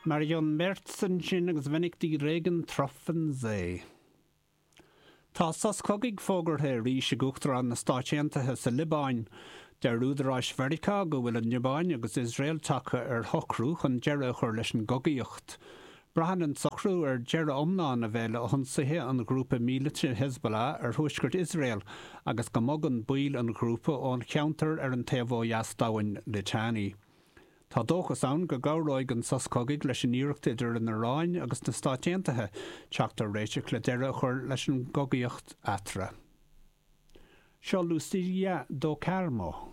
Marion Merz ansin agus Wenn ich die Regentropfen seh. Tá sos cogaidh fógartha arís ag Uachtarán na Stáit Aontaithe sa Liobáin. Deir údaráis Mheiriceá go bhfuil an Liobáin agus Iosrael tagtha ar shocrú chun deireadh a chur leis an gcogaíocht. Braitheann an socrú ar deireadh iomlán a bheith le hionsaithe an ghrúpa míleata Hezbollah ar thuaisceart Iosrael agus go mbogann baill an ghrúpa ón cheantar ar an taobh ó dheas d'abhainn Litani. Tá dóchas ann go gcabhróidh an sos cogaidh leis an iarracht idir an Iaráin agus na Stáit Aontaithe teacht ar réiteach le deireadh a chur leis an gcogaíocht eatarthu. Seo Lucia do Carmo.